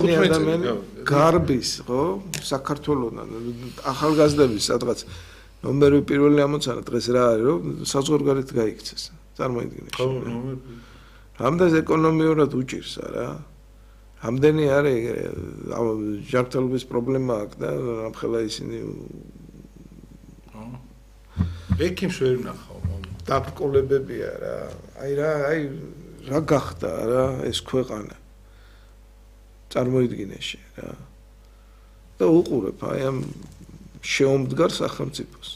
ადამიანი გარბის, ხო? საქართველოსთან ახალგაზრდების სადღაც ნომერი პირველი ამოცანა დღეს რა არის, რომ საზღვარგარეთ გაიქცეს. წარმოიდგინე. ხო, რამდენს ეკონომიურად უჭირს არა? რამდენი არის ჯანმრთელობის პრობლემა აქვს და ამხელა ისინი ექიმს ვერ ნახავ. დაბკოლებებია რა. აი რა გახდა რა ეს ქვეყანა. წარმოიდგინეში რა. და უყურებ აი ამ შეომდგარ სახელმწიფოს.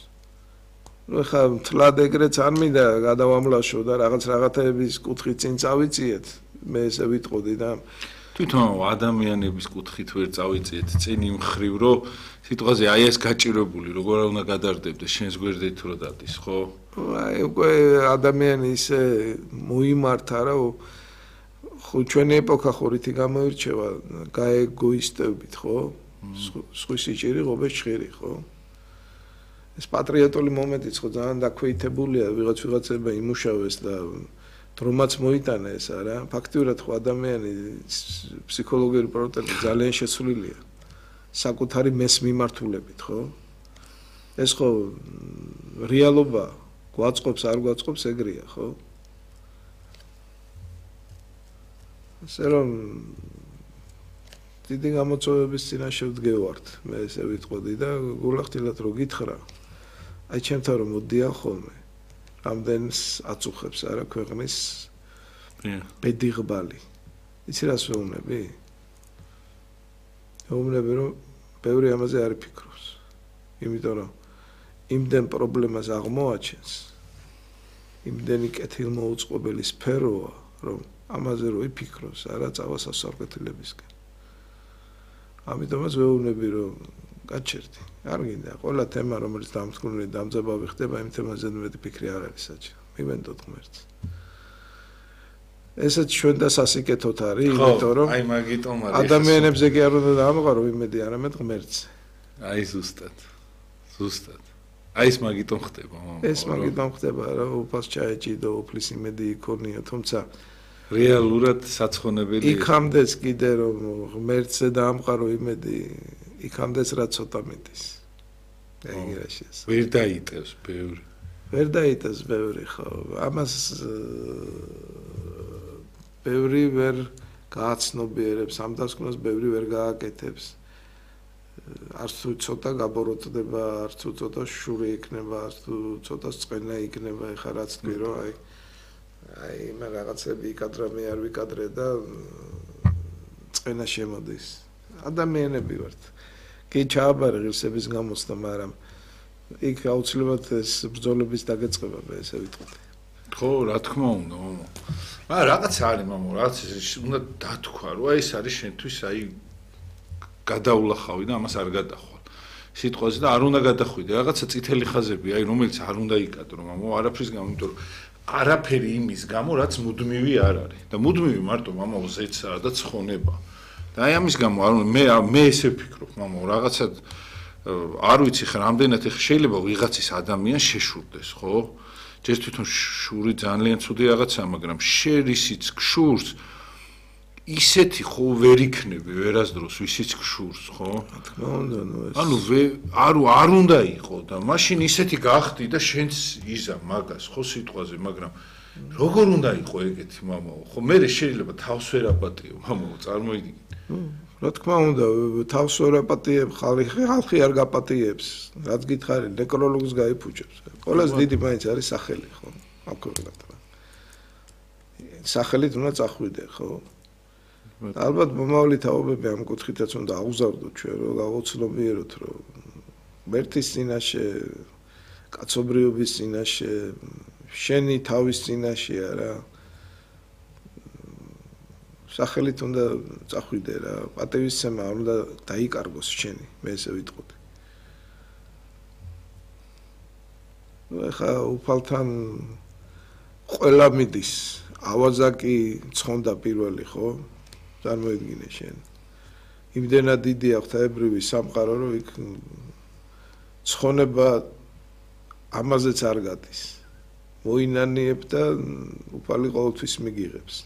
ნუ ხა თლად ეგრეც არ მინდა გადავამლაშო და რაღაცების კუთხით წინ წავიწიეთ. მე ესე ვიტყოდი და თვითონ ადამიანების კუთხით ვერ წავიწიეთ წინ იმ ხრივ რომ სიტყვაზე აი ეს გაჭირებული როგორ უნდა გადარდებდეს შენს გვერდით რო დადის ხო? აი უკვე ადამიანი ისე მოიმართა რა ხო ჩვენი ეპოქა ხორითი გამოირჩევა გაეგოისტებით ხო? სხვისი ჭირი ღობეს ჭირი ხო? ეს პატრიოტული მომენტიც ხო ძალიან დაქვეითებულია ვიღაცება იმუშავეს და დრომაც მოიტანა ეს არა ფაქტიურად ხო ადამიანი ფსიქოლოგიური პრობლემები ძალიან შესულილია საკუთარი მეს მიმართულებით ხო ეს ხო რეალობა გვაწყობს არ გვაწყობს ეგრეა ხო ასე რომ დიდი გამოწვევების წინაშე ვდგევართ მე ესე ვიტყოდი და გულახდილად რო გითხრა აი ჩემთან რომ მოდიან ხოლმე რამდენს აწუხებს არა ქვეყნის ბედიღბალი იცი რას ვეუბნები ვეუბნები რომ ბევრი ამაზე არ ფიქრობს იმიტომ რომ იმდენ პრობლემას აღმოაჩენს იმდენი კეთილმოუწყობელი სფეროა რომ ამაზე რო იფიქროს არა წავა სასწავლებელებისკენ ამიტომაც ვეუბნები რომ გაჩერდი არ გინდა ყველა თემა რომელიც დამსგრუნული დამძაბავი ხდება იმ თემაზე მეტი ფიქრი არ არის საჭირო მივენდოთ ღმერთს ესეც ჩვენ და სასიკეთოთ არის იმიტომ რომ აი მაგიტომ არის ადამიანებზე კი არ უნდა დაამყარო იმედი არამედ ღმერთს აი ზუსტად აი ეს მაგიტომ ხდება ეს მაგიტომ ხდება რა უფალს ჩაეჭიდო უფლის იმედი იქონია თუმცა რეალურად საცხონებელი იქამდეც კიდე რომ ღმერთზე დაამყარო იმედი იქამდეც რა ცოტა მეტის. ეგ რა შეეს. ვერ დაიტევს ბევრი. ვერ დაიტევს ბევრი ხო. ამას ბევრი ვერ გააცნობიერებს, ამ დასკვნას ბევრი ვერ გააკეთებს. არც თუ ცოტა გაბოროტდება, არც თუ ცოტა შური იქნება, არც თუ ცოტა წყენა იქნება, ეხლა რაც თქვი რომ აი მე რაღაცები იკადრა მე არ ვიკადრე და წყენა შემოდის. ადამიანები ვართ. კი ჩააბარე ღირსების გამოსდა, მაგრამ იქ აუცილებლად ეს ბრძოლების დაგეწყება მე ესე ვიტყოდი. ხო, რა თქმა უნდა, მამა. მაგრამ რაღაც არის, მამა, რაც უნდა დათქვა, რომ აი ეს არის შენთვის აი გადაულახავი და ამას არ გადახვალ. სიტყვაზე და არ უნდა გადახვიდე, რაღაცა წითელი ხაზები, აი რომელიც არ უნდა იკადრო, მამა, არაფრის გამო, იმიტომ რომ არაფერი იმის გამო, რაც მუდმივი არ არის. და მუდმივი მარტო მამა ზეცაა და ცხონება. და აი ამის გამო მე ესე ვფიქრობ, მამა, რაღაცა არ ვიცი ხა რამდენად ეხა შეიძლება ვიღაცის ადამიანს შეშურდეს, ხო? ჯერ თვითონ შური ძალიან ცუდი რაღაცაა, მაგრამ შერისიც გშურს ისეთი ხო ვერ იქნები ვერასდროს ვისიც გშურს, ხო? რა თქმა უნდა, ნუ ეს ანუ არ უნდა იყო და მაშინ ისეთი გახდი და შენც იზა მაგას, ხო სიტყვაზე, მაგრამ როგორ უნდა იყო ეგეთი, მამა? ხო მე შეიძლება თავს ვერ აპატიო, მამა, წარმოიდგინე. რა თქმა უნდა, თავს ვერ აპატიებ, ხალხი არ გაპატიებს, რაც გითხარი, ნეკროლოგს გაიფუჭებს. ყველას დიდი მაინც არის სახელი, ხო? აკურთხებთ. სახელით უნდა წახვიდე, ხო? ალბათ მომავალი თაობები ამ კუთხითაც უნდა აღზარდოთ ჩვენ, რომ გავოცნობიეროთ, რომ მერტის წინაშე, კაცობრიობის წინაშე, შენი თავის წინაშე არა სახელით უნდა წახვიდე რა, პატივისცემა არ უნდა დაიკარგოს შენი, მე ესე ვიტყოდი. ეხა უფალთან ყველა მიდის, ავაზაკი ცხონდა პირველი, ხო? წარმოიდგინე შენ. იმდენად დიდი აქვს თაებრივი სამყარო, რომ იქ ცხონება ამაზეც არ გადის. მოინანიებ და უფალი ყოველთვის მიგიღებს.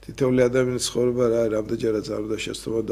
თითოეული ადამიანის ცხოვრება რა რამდენჯერაც არ უნდა შესწავლო